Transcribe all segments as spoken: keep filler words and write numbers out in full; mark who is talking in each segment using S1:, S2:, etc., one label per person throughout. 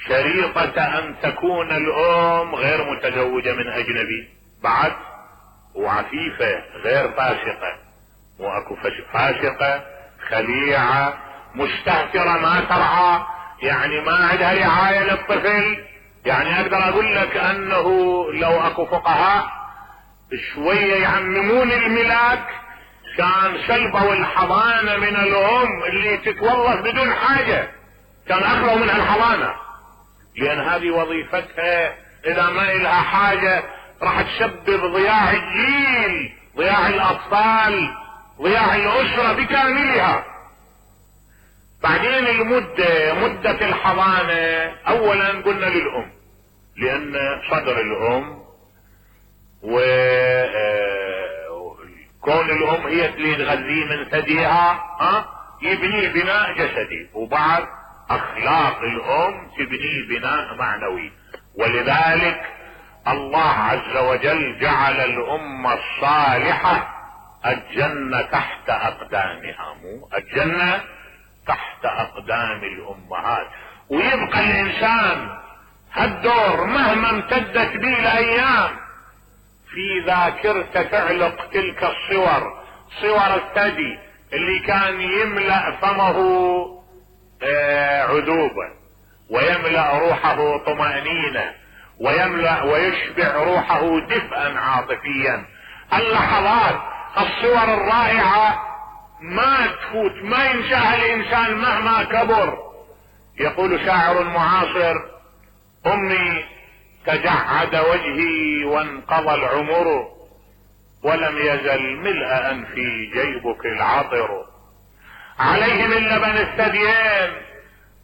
S1: شريطة ان تكون الام غير متزوجة من اجنبي بعد، وعفيفة غير فاسقة، مو اكو فاسقة خليعة مستهترة ما ترعى، يعني ما عندها رعاية للطفل. يعني اقدر اقول لك انه لو اكو فقهاء شوية يعممون الملاك كان سلبوا الحضانة من الام اللي تتوظف بدون حاجة، كان اخلوا منها الحضانة، لان هذه وظيفتها اذا ما لها حاجة راح تسبب ضياع الجيل، ضياع الاطفال، ضياع الاسرة بكاملها. بعدين المدة، مدة الحضانة اولا قلنا للام، لان صدر الام وكون الام هي اللي تغذيه من ثديها ها يبني بناء جسدي، وبعد اخلاق الام تبني بناء معنوي. ولذلك الله عز وجل جعل الامة الصالحة الجنة تحت اقدامها، مو الجنة تحت اقدام الامهات. ويبقى الانسان هالدور مهما امتدت به الايام في ذاكرته تعلق تلك الصور، صور الثدي اللي كان يملأ فمه عذوبا ويملأ روحه طمأنينة ويملأ ويشبع روحه دفئا عاطفيا. اللحظات الصور الرائعة ما تفوت، ما ينساها الانسان مهما كبر. يقول شاعر معاصر: امي تجعد وجهي وانقضى العمر ولم يزل ملء انفي جيبك العطر، عليه من لبن الثديين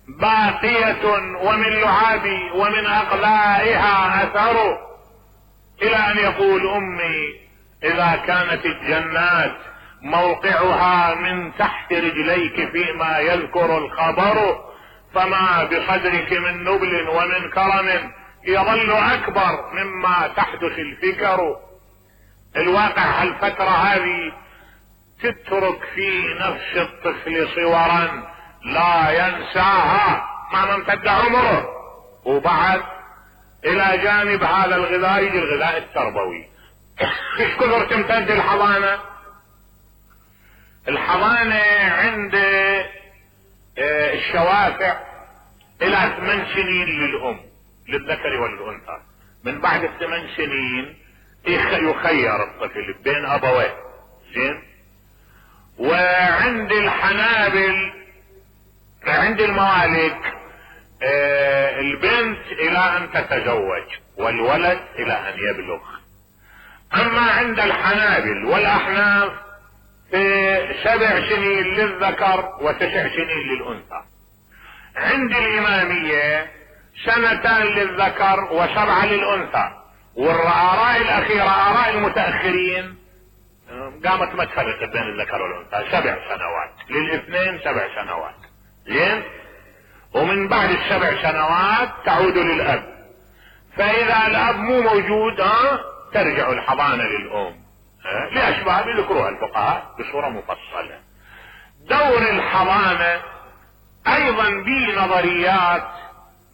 S1: باقية ومن لعابي ومن اقلائها اثر، الى ان يقول: امي اذا كانت الجنات موقعها من تحت رجليك فيما يذكر الخبر، فما بصدرك من نبل ومن كرم يظل اكبر مما تحدث الفكر. الواقع هالفترة هذه تترك في نفس الطفل صورا لا ينساها مهما امتد عمره. وبعد الى جانب هذا الغذاء يجي الغذاء التربوي. ايش كثر تمتد الحضانة؟ الحضانة عند الشوافع الى ثمان سنين للام، للذكر والانثى. من بعد الثمان سنين يخير الطفل بين ابويه، زين. وعند الحنابل عند الموالد آه البنت الى ان تتزوج والولد الى ان يبلغ. اما عند الحنابل والاحناف في سبع سنين للذكر وتسع سنين للانثى. عند الامامية سنتان للذكر وسبعة للانثى. والاراء الاخيرة اراء المتاخرين قامت ما تفرق بين الذكر والانثى، سبع سنوات للاثنين، سبع سنوات، زين. ومن بعد السبع سنوات تعود للاب. فاذا الاب مو موجود ها ترجع الحضانة للام لاسباب يذكروها الفقهاء بصورة مفصلة. دور الحضانة ايضا به نظريات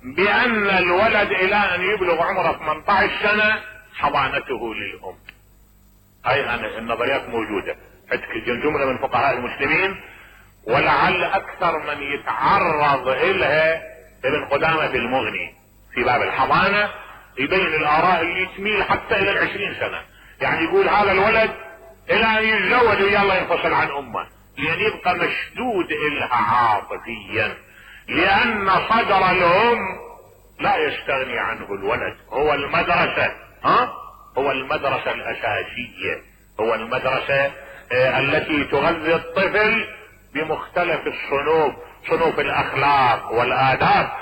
S1: بان الولد الى ان يبلغ عمره ثمانية عشر سنة حضانته للام. اي النظريات موجودة عندك جملة من فقهاء المسلمين، ولعل اكثر من يتعرض الها ابن قدامة المغني في باب الحضانة، يبين الاراء اللي تميل حتى الى العشرين سنة. يعني يقول هذا الولد الى ان يتزوج ويلا ينفصل عن امه، لان يبقى مشدود الها عاطفيا، لان صدر الام لا يستغني عنه الولد. هو المدرسة ها هو المدرسة الاساسية، هو المدرسة آه التي تغذي الطفل بمختلف الصنوف، صنوف الاخلاق والاداب.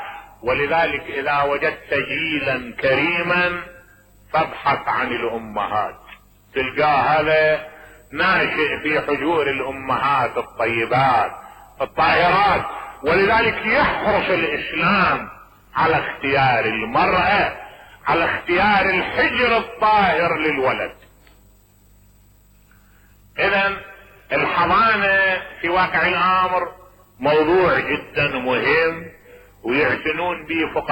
S1: ولذلك اذا وجدت جيلا كريما فابحث عن الامهات، تلقاه هذا ناشئ في حجور الامهات الطيبات الطاهرات. ولذلك يحرص الاسلام على اختيار المرأة، على اختيار الحجر الطاهر للولد. اذا الحضانة في واقع الامر موضوع جدا مهم ويعتنون به فقهاء